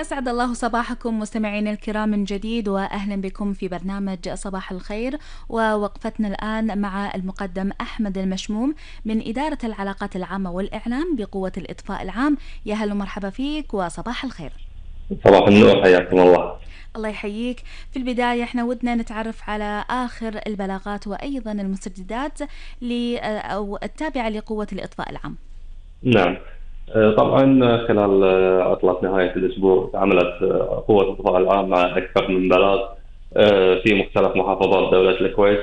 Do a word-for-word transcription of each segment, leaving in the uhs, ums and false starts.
أسعد الله صباحكم مستمعين الكرام من جديد، وأهلا بكم في برنامج صباح الخير. ووقفتنا الآن مع المقدم أحمد المشموم من إدارة العلاقات العامة والإعلام بقوة الإطفاء العام. يا هلا ومرحبا فيك وصباح الخير. صباح النور، حياكم الله. الله يحييك. في البداية احنا ودنا نتعرف على آخر البلاغات وأيضا المستجدات ل أو التابعة لقوة الإطفاء العام. نعم. آه، طبعا خلال آه، عطلة نهاية الأسبوع عملت آه، قوة الدفاع العام مع أكثر من بلاغ آه، في مختلف محافظات دولة الكويت.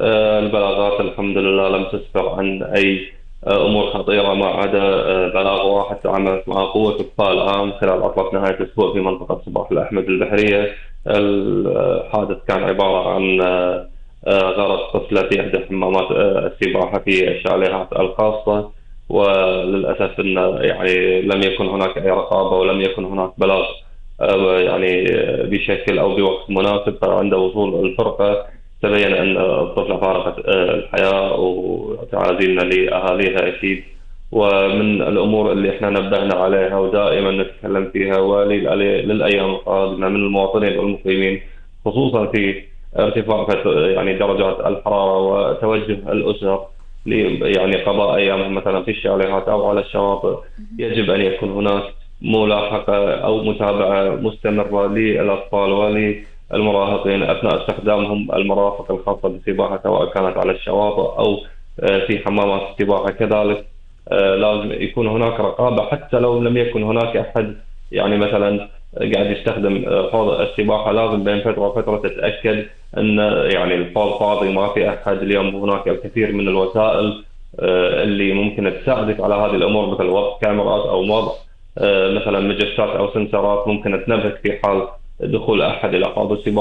آه، البلاغات الحمد لله لم تسفر عن أي آه، أمور خطيرة، ما عدا آه، بلاغ واحد تعاملت مع قوة الدفاع العام خلال عطلة نهاية الأسبوع في منطقة صباح الأحمد البحرية. الحادث كان عبارة عن آه، آه، غرق طفلة في إحدى حمامات آه، السباحة في الشاليهات الخاصة، وللأسف أن يعني لم يكن هناك أي رقابة ولم يكن هناك بلاغ آه، يعني آه، بشكل أو بوقت مناسب. فعند وصول الفرقة تبين أن الطفلة فارقت آه، الحياة، وتعازينا لأهاليها أكيد. ومن الأمور اللي احنا نبهنا عليها ودائما نتكلم فيها وللأيام القادمة من المواطنين والمقيمين، خصوصا في ارتفاع فت- يعني درجات الحرارة وتوجه الأسر ل- يعني قضاء أيامهم مثلا في الشاليهات أو على الشواطئ، يجب أن يكون هناك ملاحقة أو متابعة مستمرة للأطفال وللمراهقين أثناء استخدامهم المرافق الخاصة بالسباحة، سواء كانت على الشواطئ أو آه، في حمامات السباحة كذلك. آه، لازم يكون هناك رقابة حتى لو لم يكن هناك أحد يعني مثلا قاعد يستخدم آه، حوض السباحة. لازم بين فترة وفترة تتأكد أن يعني الحوض فاضي، ما في أحد. اليوم هناك الكثير من الوسائل آه، اللي ممكن تساعدك على هذه الأمور، مثل وضع كاميرات أو وضع آه، مثلا مجسات أو سنسرات ممكن تنبهك في حال دخول أحد إلى حوض السباحة.